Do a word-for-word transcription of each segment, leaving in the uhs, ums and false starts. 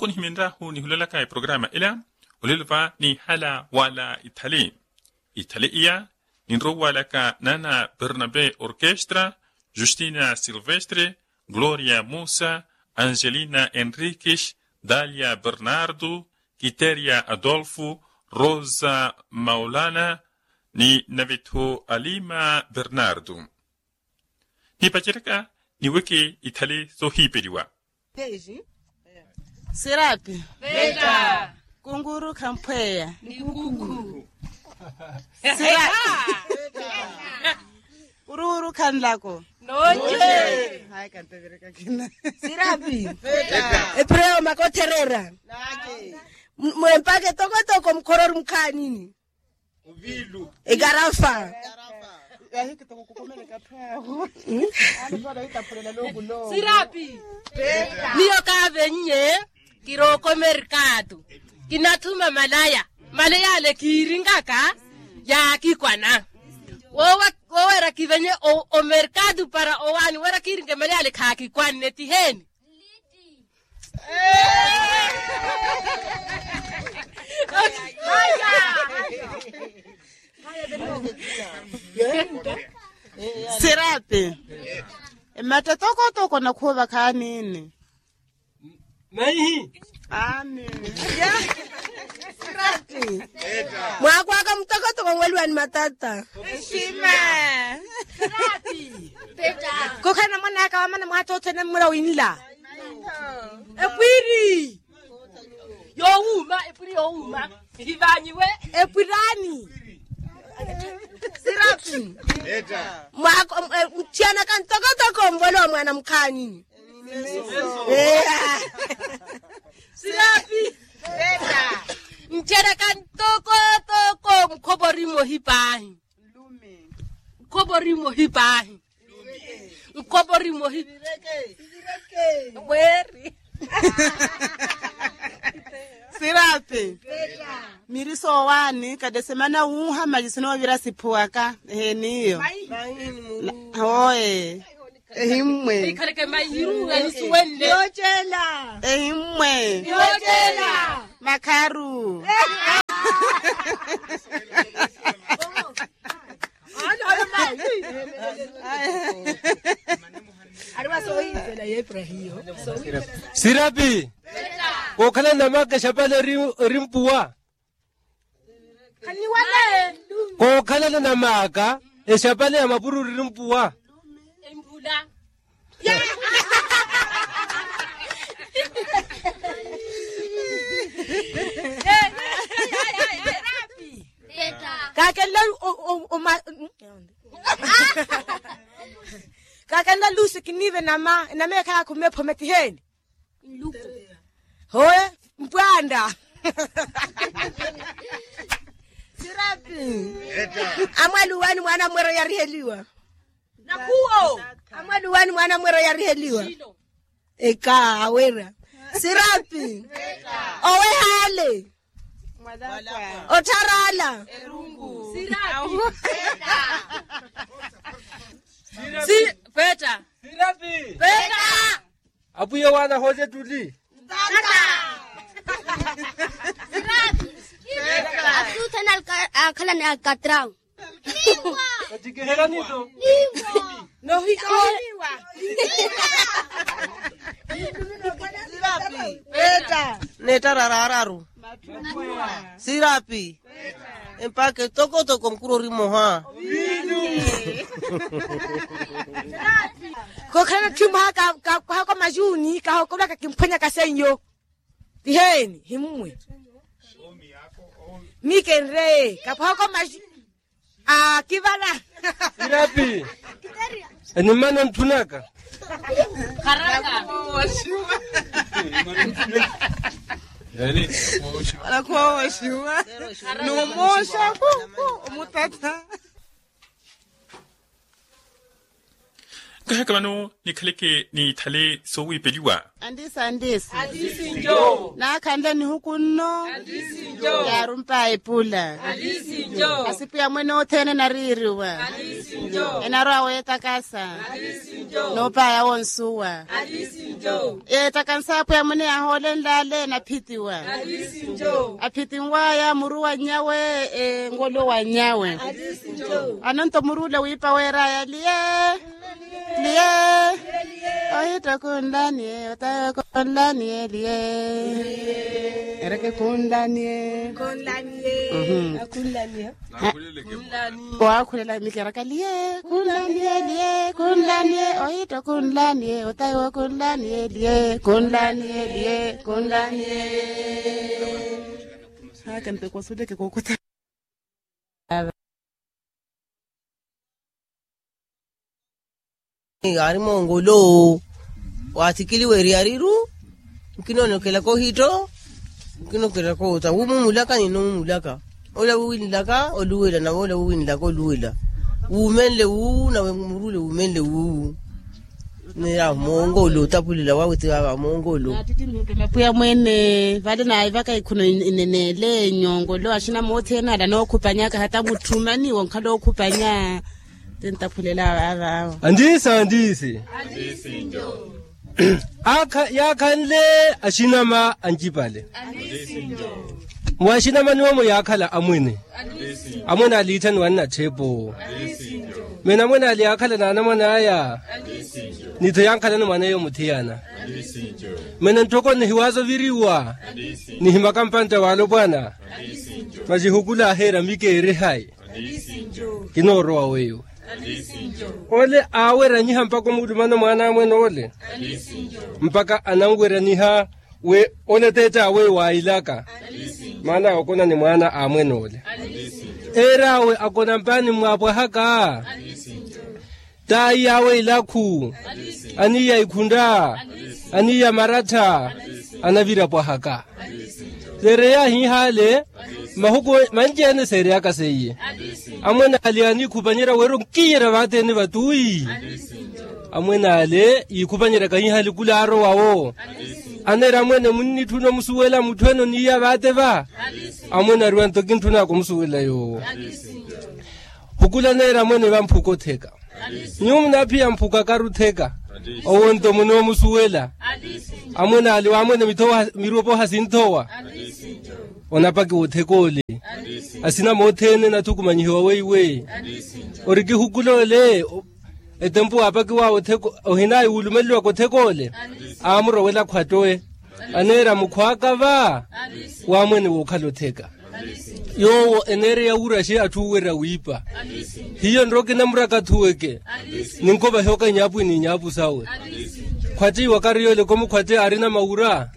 onihiminrahu nihulalaka eprograma ila, olelo va nihala wala ithali. Ithali iya ninrowalaka nana bernabe orkestra, justina silvestre, gloria musa, angelina enriquis, dalia bernardo, kiteria adolfo, rosa maulana, ni navetho alima bernardo. Nipaceraka niweke ithali sohiperiwa. Sirapi. Kunguru khamphweya. Sirapi. Ururu khanlako. Sirapi. Epreo makotherera. Mwempake tokotoko mkhorori mukhanini. Ekarafa. Sirapi. Miyo kavenye kiroko merkatu, kinathuma malaya, malaya ale kiringaka yakikwana. Wowa wowera kivenye omerkatu para owani wera kiringe malaya ale khakikwanne tiheni. Sirapi. Ematta tokotoko nakhuva khanini. Maihi. Amen. Sirapi. Mwakwaka mutokotoko mweliwani matata. Kokhana mwanaka wamana mwatothene mmura winla. Epwiri yowuma epwiri yowuma. Hivanyiwe epwirani. Sirapi. Muthiyanaka ntokotoko mvole wa mwana mukhanini. Sirapi. Ntheraka ntoko toko nkhovo rimohi paahi. Nkhovo rimohi paahi. Nkhovo rimohi. Weri. Sirapi. Miri soowaani katesemana wuuha mali sinoovira siphuwaka. Ehe niyo. Hooye. Ehimmwe. Ehimmwe. Makharu. Sirapi. Kookhala namaka exapale eri mpuwa. Kookhalana na maaka exapale ya mapururi eri mpuwa. Kakenla. Kakenla lusi kinive nama nama ekhayakhumepho metiheni. Hoye mpwanda. Sirapi. Amwaluwani mwana mwero yariheliwa. Nakuwo. Amwaluwani mwana mwero yariheliwa. Eka awera. Sirapi. Owehale. Otharala. Si peta. Peta. Apwiya waana hooce ettuli. Atuthana akhalani akatrau. Katikihela nito. Nohikoniwa. Peta. Nettara raararu. Sirapi. Empaka etokotoko mukuru ori mmoha. Kokhalana tthi mmoha. Kapwahaka omajuni kahokolwaka kimphwenyaka seiyo. Tiheni himmwe. Mikenre kapwahaka omajuni. Akivala. Sirapi. Enimana ntthunaka. Alakhuwa wooxiwa. Numooxa. Omutatha. Eheke vano nikhaleke ni ithale soowiipeliwa. Andiisi andiisi. Naakhanle nihuku nno. Yaarumpaya epula. Asipu ya mwene othene enariiriwa. Enarwa weetakasa. Noopaya wonsuwa. Yeetaka nsaapu ya mwene yaahoolenle ale enaphitiwa. Aphitinwaya muru wa nnyawe. Engolo wa nnyawe. Anonto muru ole wiipa weeraya liye. Liye. Ohitto khunlaniye otawe khunlaniye liye. Ereke khunlaniye. Waakhulela mikeraka liye khunlaniye liye khunlaniye. Ohitto khunlaniye otawe khunlaniye liye khunlaniye liye khunlaniye. Haka ntekwasuleke kookota. Ari mongolo. Wathikiliwa eriyariru. Nkinonokelaka ohitto. Nkinonokelaka ota wumumulaka ninoomumulaka. Ola wuwinlaka oluwela nawe ola wuwinlaka oluwela. Wuumenle wuwu nawe murule wuumenle wuwu. Nira mongolo otapulela wawe ti vava mongolo. Pwiya mwene vale naivaka ikhuno inenele nyongolo axina mothene ala nookhupanyaka hata mutthumani wonkhala okhupanya. Tintaphulela vava awo. Andiisi andiisi. Yaakhanle axinama ancipale. Mwa axinamani omo yaakhala amwene. Amwene aliitthaniwa nnatthepo. Mene amwene ali yaakhala n'anamwane aya. Ni tho yankhalani mwaneyo muthiyana. Mene ntthoko nnihiwaaza oviriwa. Nihimaka mpantta w'alopwana. Masi hukula aheera mikeere hayi. Kinoorowa weiwe. Ole aaweranyiha mpakha omulumana mwaana a mwene ole. Mpakha ananweranyiha wi ole t'ett'awe wailaka. Maana okona ni mwaana a mwene ole. Eer'awe akona mpaani mmwaapwahaka. T'aiy'awe ilakhu. Aniiya ikhuntta. Aniiya marattha. Anavira pwahaka. Seereya hihale. Mahuku manci-ene seereyaka seiye. Amwene ali aniikhupanyerya wira onkiyerya vaateni vatuwi. Amwene ale yiikhupanyeryaka hihale kula aarowa wo. Aneera amwene munnitthuna omusuwela mutthu ene oniiya vaate va. Amwene ariwa nto kintthunaka omusuwela yoowo. Hukula aneera amwene va mphuka otheka. Nyuwo munaaphiya mphuka karutheka. Owo nto munoomusuwela. Amwene ale waamwene miropo hasinthowa. Onapakiwa otheka ole. Asina mothene nathukumanyihiwa weiwe. Ori kihukula ole. Etempu waapakiwa otheka. Ohinayi wulumeleliwaka otheka ole. Aamurowela khwattowe. Aneera mukhwaaka va. Waamwene wookhala otheka. Yoowo eneereya wuraxi atthu oowerya wiipa. Hiyo nrowa kinamuraka athuweke. Ninkovahiwaka inyaapu ininyapu sawe. Khwattiwaka ari yoole komukhwatte aarina mawura.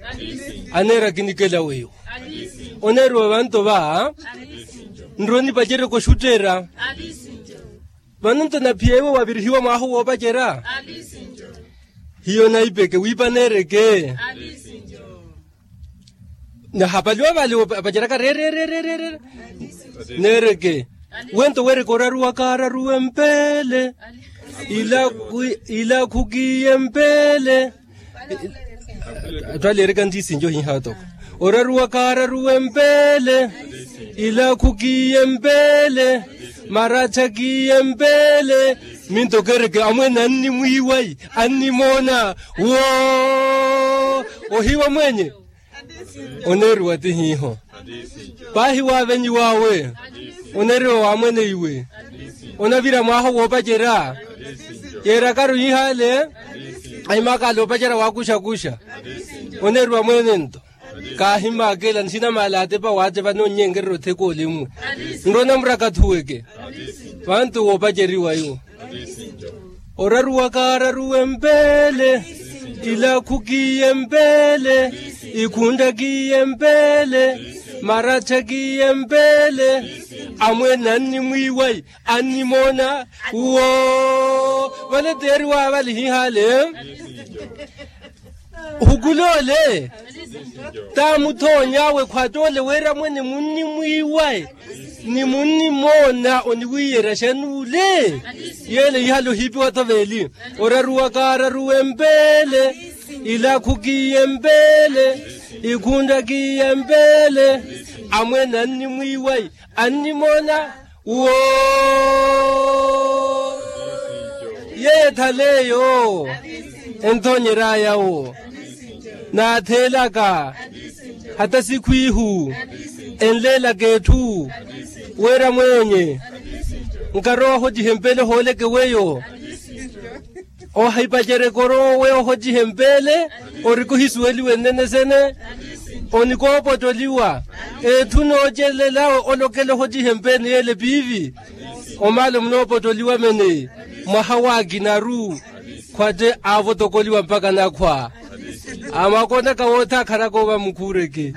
Aneera kinikela weiwo. Oneeriwa vanto va. Nrowa nipaceryeke oxutterya. Vano nto naphiya iwe wavirihiwa mwaaha woopacerya. Hiyo naipeke wiipa neereke. Nahapaliwa vale apaceraka rererererere. Neereke. Wento weereke oraruwa kaararuwe mpeele. Ilakhu kiye mpeele. Atthu ale ereka ntiisinjo hiha otoko. Oraruwa kaararuwe mpeele. Ilakhu kiye mpeele. Marattha kiye mpeele. Minto keereke amwene annimwiiwayi. Annimoona. Woo. Ohiiwa mwenye. Oneeriwa ti hiiho. Paahi waavenyiw'awe. Oneeriwa waamwene iwe. Onavira mwaaha woopacerya. Yeerakaru yihale. Ahimakale opacerya waakuxakuxa. Oneeriwa mwene nto. Kaahimaakela nsinamaala atepa waatepa noonnyenkererya otheka ole mmwe. Nrowa namuraka athuweke. Vantu woopaceriwa iwo. Oraruwa kaararuwe mpeele. Ilakhu kiye mpeele. Ikhuntta kiye mpeele. Marattha kiye mpeele. Amwene annimwiiwayi. Annimoona. Woo. Vale teeriwa vale hihale. Hukulole. Taamuthoony'awe khwattoole weera mwene munnimwiiwayi. Ni munnimoona oniwiiyerya xani ule? Yeele ihala ohiipiwa-tho veeli. Oraruwa kaararuwe mpeele. Ilakhu kiiye mpeele. Ikhuntta kiiye mpeele. Amweene annimwiiwayi, annimoona. Wo, yeeyo ethaleeyo. Enthoonyeryaaya wo. Naatheelaka hata sikhwiihu. Enleelaka etthu. Wira mweenye nkarowa ohotihe mpeele ohooleke weyo. Ohipacerya ekoro weyo ohotihe mpeele. Oriki ohisuweliwe nnene sene. Onikoopottoliwa. Etthu noocelelawe olokela ohotihe mpeele ni yeele piivi. Omaalo munoopottoliwa mene. Mwaha waakinaru khwatte aavotokoliwa mpaka nakhwa. Amakonaka woothe akharaka oova mukhuureke.